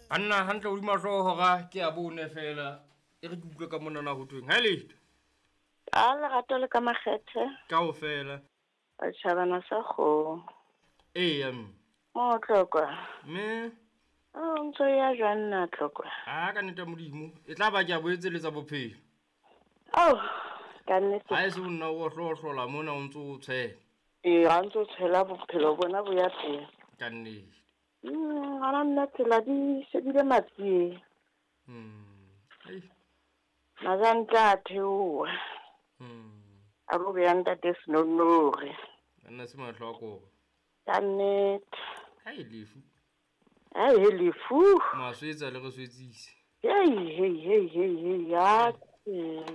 Banna hantle hodima hlooho hora ke ya bone fela e re ke utlwe ka monana ho thweng ha letho. A lerato le ka makgethe. Kaofela. Tjhabana sa kgomo. Eya mme. Mo Tlokwa. Mme. O ntso ya jwang nna Tlokwa? A ka nnete ya Modimo e tla ba ke a boetseletsa bophelo. Ao ka nnete. Ha e se o nna o hlohlola mona o ntso o tshwela. Ee, ha ntso tshwela bophelo bona bo ya pele. Ka nnete. Gona nna tsela di shebile matsieng. Ei. Majantla a theoha. A lo beya ntate Senonore. Banna se mahlo a koba. Ka nnete. Hai lefu. Hai he lefu. Maswetsa le re swetsise. Hei hei hei hei hei ya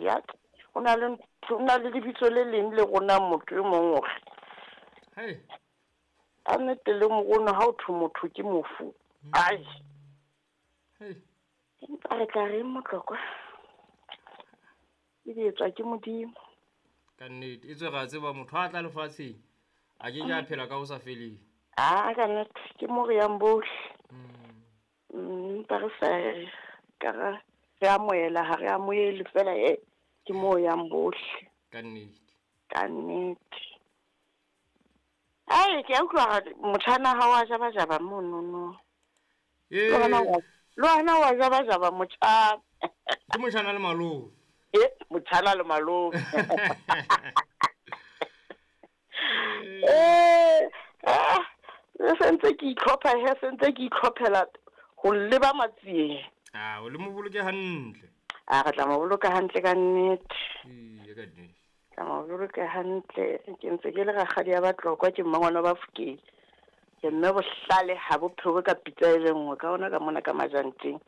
ya. O na le o na le lebitso le leng le rona motho e mong hore. Hai. Ka nnete le morona ha o thwe motho ke mofu. Ai. Hei. Empa re tla reng Motlokwa? E di etswa ke Modimo. Ka nnete e tswe ra tseba motho a tla lefatsheng a ke ke a phela ka ho sa feleng. A ka nnete ke mo re yang bohle. Empa re sa ka re amohela ha re amohele fela e ke mo yang bohle. Ka nnete. Ka nnete. Ai ke a utlwa motjhana ha wa jaba jaba mono no. Eh. Le wena wa jaba jaba motjhana. Ke motjhana le malome. E motjhana le malome. Eh, le sentse ke itlhopha he sentse ke itlhophela ho leba matsieng. Ah, o le mo boloke hantle. A re tla mo boloka hantle ka nnete. Ee, ka nnete. Tla mo boloka hantle. Ke ntse ke le rakgadi ya Batlokwa ke mmangwana ba Fokeng. Ke mme bohlale ha bo phewe ka pitsa e le nngwe ka ona ka mona ka majanteng.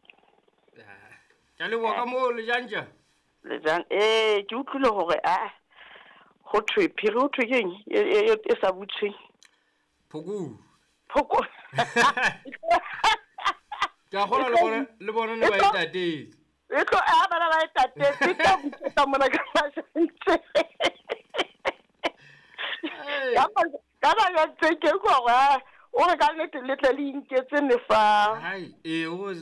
Ke a leboha ka moo lejantja. Lejan eh ke utlwile hore a ho thwe phiri ho thwe keng e sa butsweng. Phoko. Phoko. Ke a kgolwa le bona le bona ne ba e tatetse. E tlo a bana ba e tatetse e tla butswetsa mona ka majanteng. Ka majanteng ke utlwa hore o re ka nnete le tle le inketse mefa. Hai, ee o